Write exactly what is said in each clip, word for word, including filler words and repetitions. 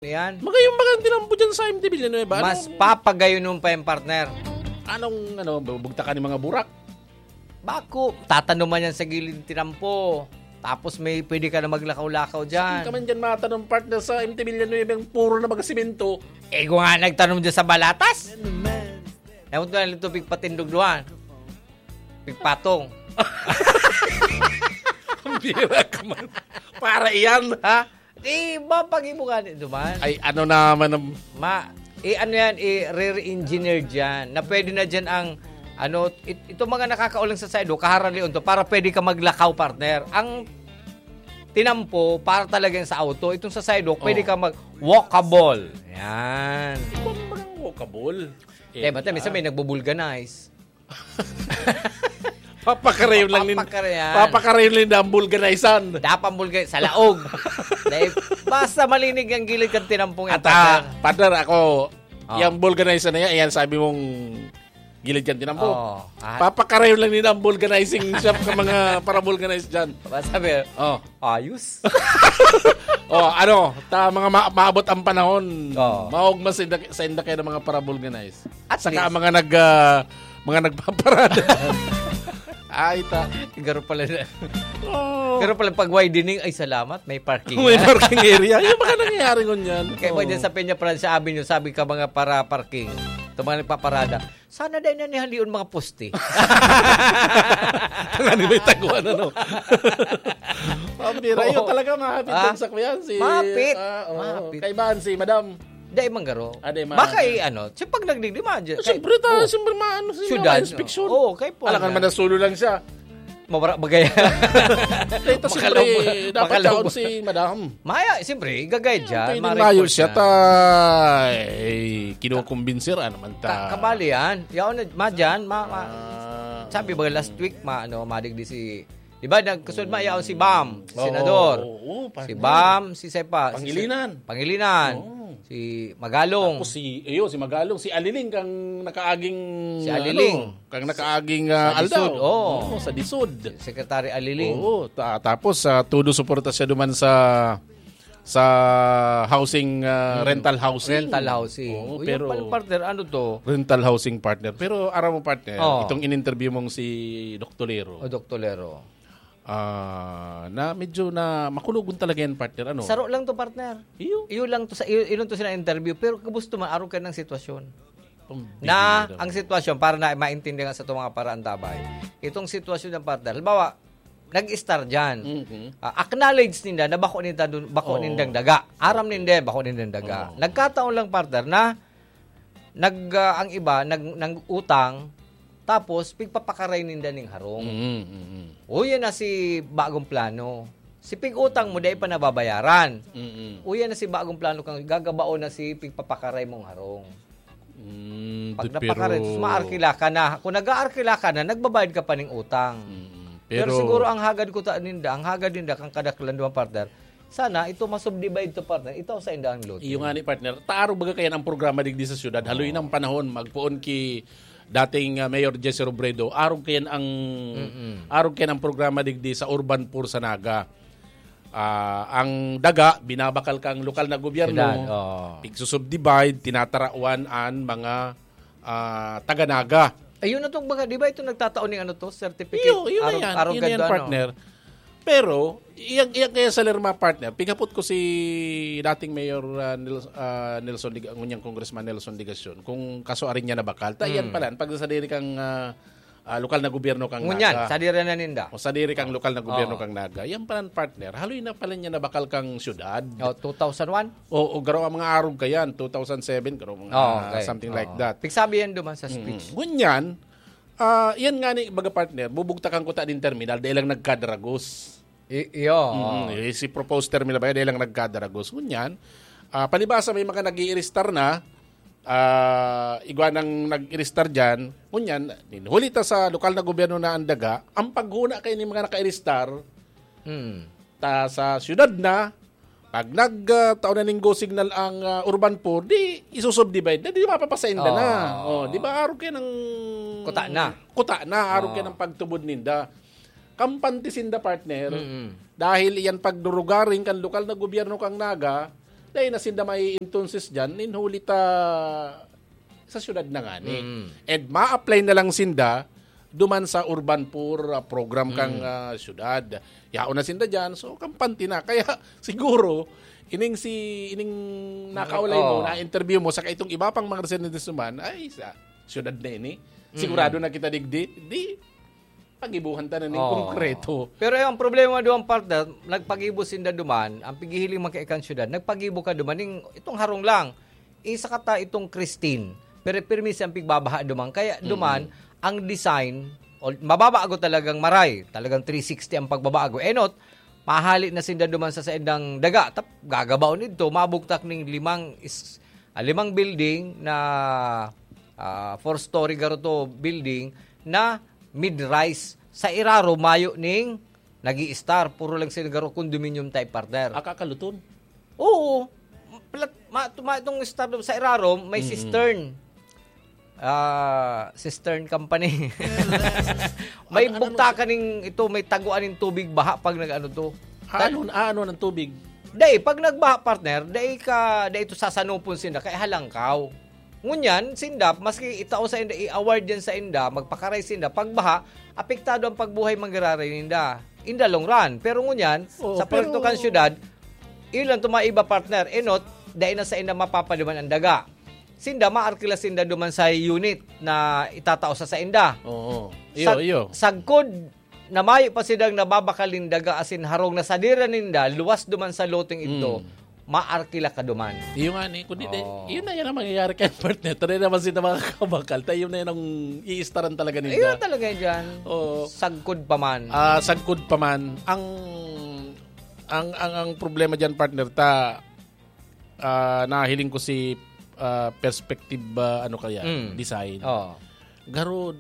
Yan. Magayon ba ang tinampo dyan sa M T Villanueva? Mas Anong, papagayonon pa yung partner. Anong, ano, bubugtakan ng mga burak? Bako, tatanuman yan sa gilid ng tinampo. Tapos may pwede ka na maglakaw-lakaw dyan. Saan ka man dyan matanom, partner, sa M T Villanueva yung puro na mga simento? Eh, kung nga nagtanom dyan sa Balatas. Ewan ko na lang ito, pigpatindog doon. Pigpatong. Ang bira ka man. Para iyan. Ha? Eh, mapag-ibo ka ni duman. Ay, ano naman ang Ma, eh, ano yan, eh, rare engineer dyan, na pwede na dyan ang, ano, it-, itong mga nakakaulang sa saido, kaharalion to, para pwede ka maglakaw, partner. Ang tinampo, para talaga yan sa auto. Itong sa saido, pwede Oh. ka mag-walkable. Yan. Ikaw naman ang walkable. Eh, Eh, bata, minsan may nagbubulganize. Papakarayon lang nin-, Papakarayan. papakarayon lang ang vulganizan. Dapat ang vulga-, sa laog. Dahil basta malinig ang gilid kan tinampong yan, Ata, partner. partner, ako, Oh. yung vulganizan na yan, yan sabi mong gilid kan tinampo. Oh, ah. Papakarayon lang nila ang vulganizing shop ka mga para-vulganize dyan. Ba, sabi, Oh. ayos. Oh, ano, ta mga ma-, maabot ang panahon. Oh. Maogma sa inda, sa inda kayo ng mga para-vulganize. At Saka least. mga nag, ah, mga nagpaparada. Ay, ta. Garo pala na. Oh. Garo pala pag widening, ay, salamat, may parking May na. parking area. Yung mga nangyayari ngunyan. Kaya mo Oh. dyan sa Peña Francia Avenue, sabi ka mga para parking. Ito mga nagpaparada. Sana dahil na nihalion mga poste. Ang ano may taguan, ano? Pambira, yun Oo. talaga, mahapit Ah, din sa kuyan. Si, mahapit. ah, oo. Mahapit. Kaibahan si Madam. Dai man garo. Ah, dai man. Baka, eh, ano, siya pag nagdigdi, ma-, dyan, Siyempre, kay-, ta-, oh. siyempre, maano, siyempre, Syudad, ma-inspeksyon. oo, kay po Alangan na. man, nasulo lang siya. Mawara, bagay. Ito, siyempre, Makalaw-, dapat makalaw-, yaon si Madam. Maya, siyempre, igagay Yan, dyan, pwedeng ma-report mayo siya, na. ta-, eh, kinukumbinsi, ano man, ta. Ka-, kabali yan. Yaon na, ma, dyan, ma, ma, Ah. sabi ba, last week, ma, ano, madigdi si Di ba, nagkusod mayaon si Bam, si Oo, senador. oo, Si partner. Bam, si Sepa, si Se-, Pangilinan. Pangilinan. Oo. Si Magalong. Tapos si, iyo, si Magalong, si Aliling kang nakaaging, Si Aliling. ano, kang nakaaging, ah, Sa aldaw. DISUD, oo. Oo, sa DISUD. Secretary Aliling. Oo, ta-, tapos, ah, todo suporta siya duman sa, sa housing, ah, Hmm. rental housing. Rental housing. Oo, O, yun pero pala, partner, ano to? Rental housing, partner. Pero aram mo, partner, Oo. itong in-interview mong si Doc Tolero. O, Doc Tolero. Ah, na medyo na makulogon talaga yan, partner, ano? Saro lang to, partner. Iyo. Iyo lang to sa, iyo, iyo lang to sina interview, pero kabusto man, arog ka ng sitwasyon. Pambira Na naman. ang sitwasyon, para na maintindihan sa itong mga paraantabay. Itong sitwasyon ng partner, halimbawa, nag-star dyan. Mhm. Ah, acknowledge ninda na bako ninda dun, bako Oo. nindang daga. Aram Okay. ninda, bako nindang daga. Oo. Nagkataon lang, partner, na nag, ah, ang iba, nag, nag-utang, tapos pigpapakaray ninda ning harong. Mm, mm, mm. Uya na si bagong plano. Si pig-utang mo, dai pa nababayaran. Mm, mm. Uya na si bagong plano kang gagabaon na si pigpapakaray mong harong. Mm, Pag di, napakaray, pero sus, maarkila ka na. Kung nag-aarkila ka na, nagbabayad ka pa ning utang. Mm, mm. Pero Pero siguro ang hagad ko ta-, ninda, ang hagad ninda, kang kadaklan duman, partner, sana ito masubdivide to, partner. Ito sa inda ang lote. Iyo nga ni, partner. Ta arog baga kayan ang programa digdi sa syudad. Haloy Oo. ng panahon, magpoon ki dating, ah, Mayor Jesse Robredo. Arog kayan ang, Mm-mm. arog kayan ang programa digdi sa urban poor sa Naga. Ah, ang daga, binabakal kang lokal na gobyerno, Syudad, oo. pigsusubdivide, tinatarawan an mga, ah, taga-Naga. Ayun na tong mga, di ba ito nagtatao ning ano to, certificate? Iyo, iyo na Arog-, yan. arog Iyo na ganda, yan, ano? partner. Pero, iyang, iyang kaya sa Lerma, partner, pigapot ko si dating Mayor, ah, Nel-, ah, Nelson Dig-, ngunyang Congressman Nelson Digacion, kung kaso arin niya nabakal. Ta, iyan Hmm. pala, pag sa diri kang, ah, ah, lokal na gobyerno kang Ngunyan, Naga. sa diri na ninda. O sa diri kang lokal na gobyerno Oo. kang Naga. Yan pala, partner, haloy na pala niya nabakal kang syudad. Oh, two thousand one? O, o, garo ang mga arog ka yan, two thousand seven, garo mga Oh, okay. something like Oo. that. Pigsabi yan duman sa Mm. speech. Ngunyan, ah, yan nga ni, baga, partner, bubugtakan ko ta din terminal, dahil lang nagkadragos. I-, iyo, Mm, oo. eh, si proposed terminal ba yan, dahil lang nagkadragos. Ngunyan, ah, palibasa may mga nag-i-iristar na, ah, igwa nang nag-iristar dyan. Ngunyan, huli ta sa lokal na gobyerno na ang daga, ang paghuna kayo ni mga naka-iristar, Mm. ta sa syudad na, pag nag, ah, taon na ning go signal ang, ah, urban poor, di isusubdivide na, di mapapasainda na. Oo. Oh, di ba, arog kayo ng Kuta na. kuta na, arog kayo Oo. ng pagtubod ninda. Kampante sinda, partner, Mm-mm. dahil iyan pagdurugaring kan lokal na gobyerno kang Naga, Dai na sinda may entonces dyan, nin huli ta sa syudad na ngani. Mm. And ma-apply na lang sinda duman sa urban poor, ah, program kang, Mm. ah, syudad. Yaon na sinda dyan, so kampante na. Kaya siguro, ining si, ining nakaulay mo, Oo. na-interview mo, saka itong iba pang mga residentes naman, ay sa syudad na ini. Mm. Sigurado na kita digdi, di, pagibuhan ta na ning Oo. konkreto. Pero yung problema duman, partner, nagpagibo sinda duman, ang pighihiling man kaikan syudad, nagpagibo ka duman, ning, itong harong lang, isa ka ta itong Christine, pero pirmi siyang pigbabaha duman. Kaya Mm. duman, ang design, o, mababago talagang maray, talagang three sixty ang pagbabago. Enot, mahali na sinda duman sa saindang daga, tap, gagabaon idto, mabugtak ning limang is-, ah, limang building na, ah, four-story garo to building na mid-rise. Sa iraro, mayo ning nag-i-star. Puro lang sila garo condominium type, partner. Aka kaluton. Oo. Plat-, ma-, ma-, itong star sa iraro, may Mm-mm. cistern. Ah, cistern company. May Ano, ano bugtakan ning ito, may taguan ning tubig baha pag nag-ano to. Ah, Ta- ano, ah, ano ng tubig? Dai, pag nagbaha, partner, dai ka, dai ito sasanupon sinda, kaya halangkaw. Ngunyan, sinda, maski itao sa inda, i-award yan sa inda, magpakaray sinda, pagbaha, apektado ang pagbuhay manggiraray ninda. In the long run. Pero ngunyan, Oo, sa proyekto pero kan syudad, yun lang tumaiba, partner. Enot, dai na sa inda mapapaduman ang daga. Sinda, maarkila sinda duman sa unit na itatao sa sainda. Oo. Iyo, Sag-, iyo. sagkod na mayo pa sidang nababakal nin daga asin harong na sadira ninda, luwas duman sa loteng idto, Mm. maarkila ka duman. Iyo nga ni, kundi di, Oo. yun na yan ang mangyayari kay partner. Tari naman sila makakabakal. Tayo na yan ang iistaran talaga ninda. Ayun talaga yan dyan. Oo. Sagkod pa man. Ah, sagkod pa man. Ang, ang, ang, ang problema dyan, partner, ta, ah, nahiling ko si, ah, perspective, ah, ano kaya, Mm. design. Oo. Garo,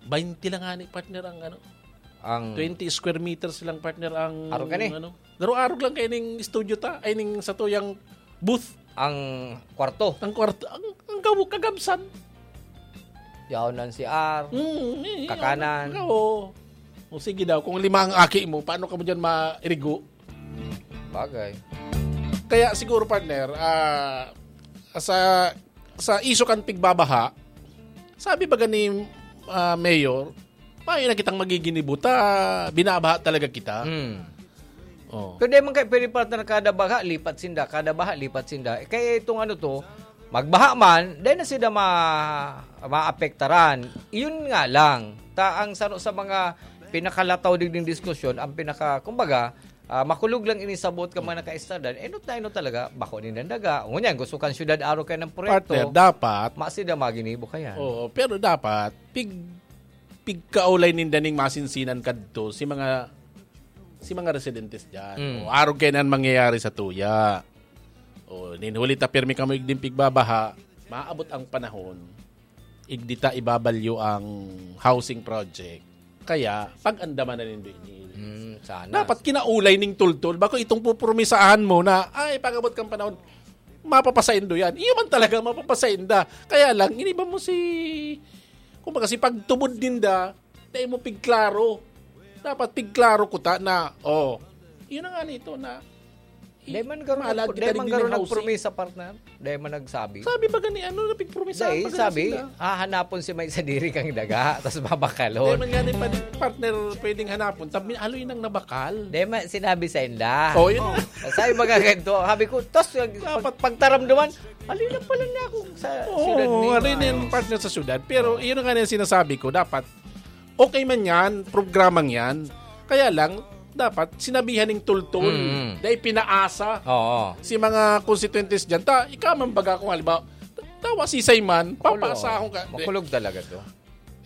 twenty lang nga ni partner ang ano, Ang twenty square meters lang partner ang Arog ka ni? ano. Garo arog lang kay ning studio ta, ay ning sa tuyang booth. Ang kwarto. Ang kwarto, ang, ang gawo, kagabsan. Yaon ng C R. Mm, eh, Kakanan. Oo. O sige daw, kung lima ang aki mo, paano ka mo dyan mairigo? Bagay. Kaya siguro, partner, ah, sa, sa isyu kan pigbabaha, sabi ba gani, ah, Mayor, mayo na kitang magiginibo ta, binabaha talaga kita. Hmm. Oh. Pero di man kayo pwede, partner, kada baha, lipat sinda, kada baha, lipat sinda. Eh, kaya itong ano to, magbaha man, dahil na sila ma-, maapektaran. Yun nga lang, ta ang saro sa mga pinakalataw digding diskusyon, ang pinaka, kumbaga, ah, makulog lang ini sa buot ka mga nakaistardan, enot na enot talaga, bako nindang daga. Ngunyan, gusto kan syudad aro kayo ng proyekto, Partner, dapat, ma sila maginibo kayan. Oo, pero dapat, pig-, pigkaulay ninda ning masinsinan kadto, si mga, si mga residentes dyan. Mm. O, arog kayo na ang mangyayari sa tuya. O, ninhuli ta pirmi kamo igding pigbabaha, maabot ang panahon, igdi ta ibabalyo ang housing project. Kaya, pag-andaman na nindo ini. Hmm, sana. Dapat kinaulay ning tultol. Bako itong pupromisahan mo na, ay, pag-abot kang panahon, mapapasaindo yan. Iyo man talaga, mapapasaindo. Kaya lang, iniba mo si, kumbaga, si pagtubod ninda, dahil mo pigklaro. Dapat pigklaro ko ta na, oh, yun na nga nito na, Dai man garo Mahalad nag-, kita dai man digdi garo ning housing. nagpromisa, partner. Dai man nagsabi. Sabi ba gani, ano, napigpromisahan Dai, pa gani sabi, sila? hahanapon si may sadiri kang daga, tas Dai babakalon. man gani pa din, partner, pwedeng hanapon. Tabi, aloy nang nabakal. Dai man sinabi sa inda. Oh, yun. Oh, sabi ba nga ganito? Sabi ko, tas pag-, Dapat pag-, pagtaramdaman, aloy na pala na ako sa Oo, syudad ni ano yun, Mayo. partner, sa syudad. Pero Oo. yun nga na yung sinasabi ko, dapat okay man yan, programang yan. Kaya lang, dapat sinabihan ning tultol. Mm. Dahil pinaasa Oo. si mga konstituyentes dyan. Ta, ikaw man baga kung halimbawa, tawa sisay man, Makulog. papaasahon ka. Di, Makulog talaga to.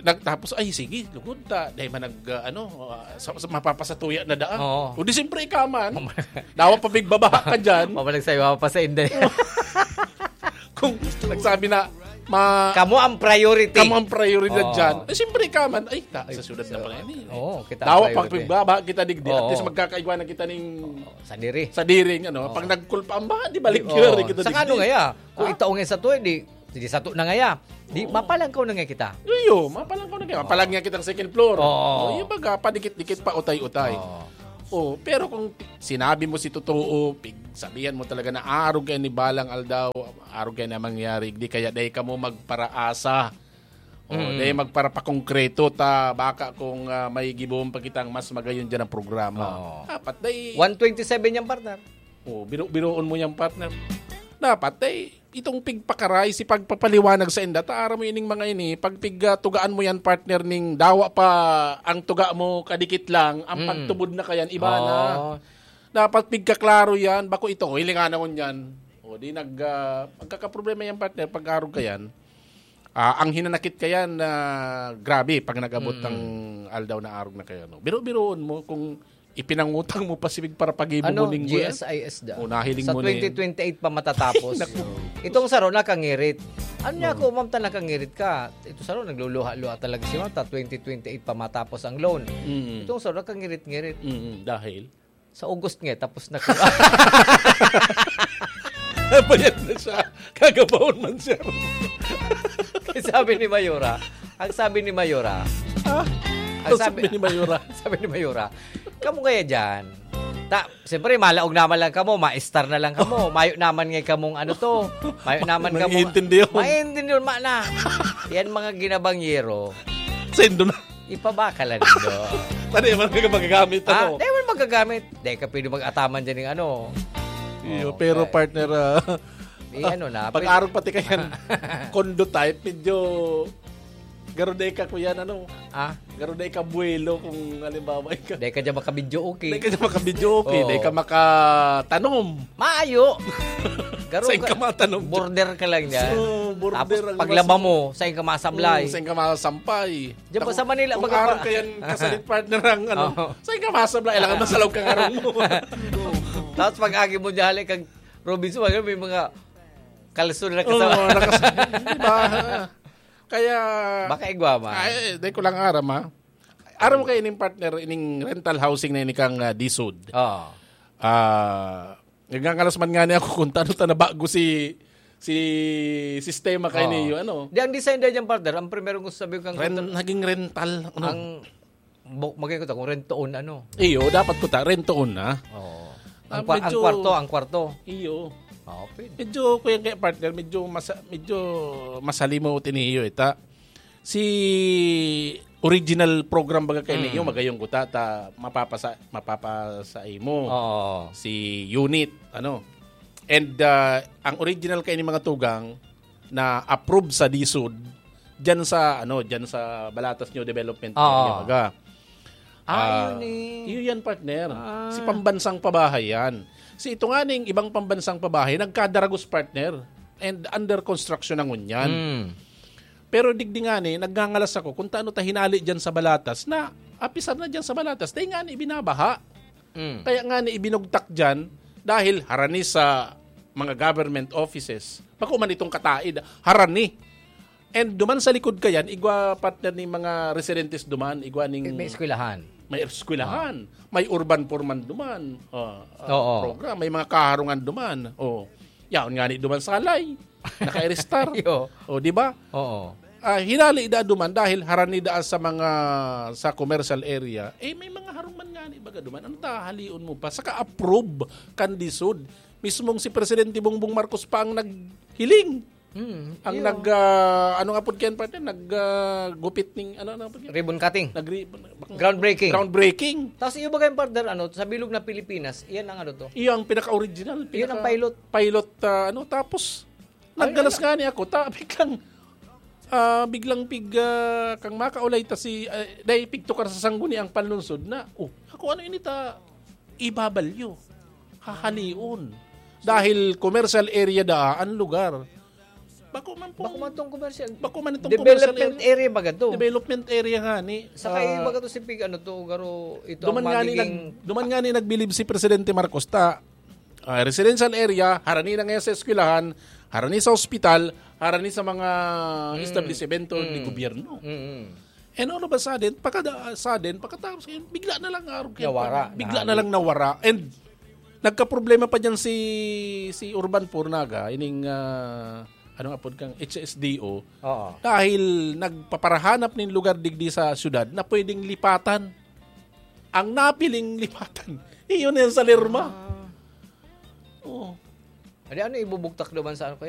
nag-, tapos, ay, sige, lugod ta. Dahil man nag, ah, ano, ah, sa, sa, mapapasatuya na daan. Oo. O di, siyempre, ikaw man. Mama- Dawa pa bigbabaha ka dyan. Mamalag sa'yo, mapapasa inday. Kung nagsabi na, ma-, Kamo ang priority. kamo ang prioridad Oo. dyan. Eh, siyempre ka man, ay, ta-, Ay, sa syudad na so, pala yan eh. oo, kita ang Dawa priority. pag pagbaba, kita digdi, at Oo. least magkakaigwa na kita ning Oo, sa diri. sa diring, ano, Oo. pag nagkulpa ang baha, di balik Oo. yun, kita Sa digdi. ano nga ya? Kung Ha? itaong nga sa tuwi, di, di sa to na nga ya. Di, Oo. mapalangkaw na nga kita. Iyo, mapalangkaw na nga. Mapalag Oo. nga kitang second floor. Oo. O, yung baga, padikit-dikit pa, utay-utay. Oo. Oh, pero kung ti-, sinabi mo si totoo, pig-, Sabihan mo talaga na arog kayo ni balang aldaw, arog kayo na mangyari, di kaya dai kamo magparaasa. O, Mm. dai magparapakongkreto ta, baka kung, ah, may gibohon pa kitang mas magayon dyan ang programa. Oo. Dapat dai One twenty-seven yan, partner. O, biro-biroon mo yan, partner. Dapat dai itong pigpakaray, si pagpapaliwanag sa inda, ta aram mo ining mga ini, pag pig, ah, tugaan mo yan, partner, ning dawa pa ang tuga mo, kadikit lang, ang Mm. pagtubod na kayan, iba na. Oo. Dapat pigkaklaro yan, bako ito, hilingan na ngunyan. O, di nag, ah, magkakaproblema yan, partner, pag arog ka yan. Ah, ang hinanakit ka yan, ah, grabe, pag nag-abot Mm. ang aldaw na arog na kayo, no? Biro-biroon mo kung ipinangutang mo pa si Mig para pag-ibo Ano, mo ning G S I S da. O, nahiling Sa mo na yun. twenty twenty-eight pa matatapos. Naku. Itong saro nakangirit. Ano niya Oo. ako, ma'am, ta nakangirit ka? Ito saro, nagluluha-luha talaga si ma'am, ta twenty twenty-eight pa matapos ang loan. Mm. Itong saro, nakangirit-ngirit. Mm, dahil? Sa August nga, tapos na ko. Bayad na siya. Kagabahon man siya. Sabi ni Mayora, ang sabi ni Mayora, Ah, ang ang sabi sabi ni Mayora. sabi ni Mayora, "Kamo kaya dyan? Ta, siyempre, malaog naman lang kamo, ma-star na lang kamo. Mayo naman ngay kamong ano to. Mayo naman kamo." Naiintindihan. Maintindihan, ma na. Yan mga ginabangyero. Sendo na. Ipabakal na nindo. Tadi, man ka magagamit Ah, ako. Dahil man magagamit. Dahil ka pwede mag-ataman dyan ng ano. Iyo, Oh, pero okay. partner, ah, Eh, ano na, pag pwede arog pati kayan, condo type, medyo garo day ka, kuya, ano? Ah? Garo day ka buwelo kung halimbawa ikaw. Dahil ka dyan makabidyo okay. Dahil ka dyan makabidyo okay, Oo. dahil ka makatanom. Maayo! Garo Saan ka ka, matanom? border ka lang dyan. So, border Tapos ang paglaba mas- mo, saan ka masablay? Oo, saan ka masampay? Diyan ba Ako, sa Manila, kung baga pa- arog ka yan, kasalit partner ang ano, Oo. saan ka masablay? Kailangan masalog ka karong mo. Tapos pag agi mo dyan, hali kag Robinson, may mga kalso na Oo, nakasama. nakas-, di ba? Kaya, Baka igwa man. Ay, di ko lang aram, ha? Aram mo kayo ining partner, ining rental housing na ini kang, ah, DSUD. Oo. Ah, nagngangalas man nga niya ako kung tano ta nabago si, si sistema kayo Oo. niyo, ano? Di, ang design dahil dyan, partner, ang primero kong sabi ko kang Ren-, naging rental, ano? ang bu-, magay ko ta, kung rent to own, ano? Iyo, dapat ko ta, rent to own na. Oo. Ah, Ang kwa-, ang medyo kwarto, ang kwarto. Iyo. Oo, pwede. Medyo, kuya, kaya partner, medyo masa-, medyo masalimot ini iyo, ita. Si original program baga kay Mm. niyo, magayong kuta, ta, mapapasa-, mapapasa imo. Oo. Si unit, ano. And, ah, ang original kay ni mga tugang na approve sa DSUD, dyan sa, ano, dyan sa Balatas New Development Oo. Area, baga. Ah, Ah, yun eh. yun yan, partner. Ah. Si pambansang pabahay yan. Si ito nga ning ibang pambansang pabahay, nagkadaragos, partner. And under construction na ngunyan. Mm. Pero digdi nga ni, nagngangalas ako kung taano ta hinali dyan sa Balatas na apisar na dyan sa Balatas. Dahil nga ni, binabaha. Mm. Kaya nga ni, ibinugtak dyan dahil harani sa mga government offices. Bako man itong kataid, harani. And duman sa likod kayan, igwa partner ni mga residentes duman, igwa ning May eskwelahan. may eskwelahan, may urban poor man duman, ah, ah, Oo. program, may mga kaharungan duman. Oh. Yaon nga ni duman salay, naka-aristar. Iyo. Oh, di ba? Oo. Ah, hinali da duman dahil harani da sa mga, sa commercial area. Eh, may mga harong man nga ni baga duman. Ano ta, halion mo pa? Saka approve kan DSUD. Mismong si Presidente Bongbong Marcos pa ang naghiling. Hmm, Ang iyo. nag, ah, ano nga po kaya, partner? Nag, ah, gupit ning, ano, ano po kaya? Ribbon cutting. Nag-, Groundbreaking. Groundbreaking. Tapos iyo ba kayong partner, ano, sa bilog na Pilipinas, iyan ang ano to? Iyo ang pinaka-original, Iyon ang pinaka- pilot. pilot, ah, ano, tapos, Ay, naggalas ala. nga ni ako, ta, biglang, ah, biglang pig, ah, kang makaulay ta si, ah, dahil pigtukar sa sangguni ang panlunsod na, oh, ako ano ini ta, ibabalyo, hahalion. Dahil commercial area daa ang lugar. Bako man po. Bako man tong commercial. Bako man itong Development commercial area. area ba gato? Development area nga ni. Saka Ah, iba gato si pig, ano to, garo, ito duman ang nga ni magiging nag-, duman nga ni nagbilib si Presidente Marcos ta, ah, residential area, harani na ngayon sa eskwelahan, harani sa ospital, harani sa mga Mm. establisimento ni Mm. gobyerno. Mm, mm. And all of a sudden, pagkada-, sudden, pagkatapos ngayon, bigla na lang arog kayo. Nawara, Bigla na nahali. lang nawara. And nagkaproblema pa dyan si, si Urban Poor Naga, ining, ah, ano nga pod kang H S D O, Oo. dahil nagpaparahanap nin lugar digdi sa syudad na pwedeng lipatan. Ang napiling lipatan, iyon yan sa Lerma. Ah. Oo. Adi, ano ibubugtak naman sa ano kaya?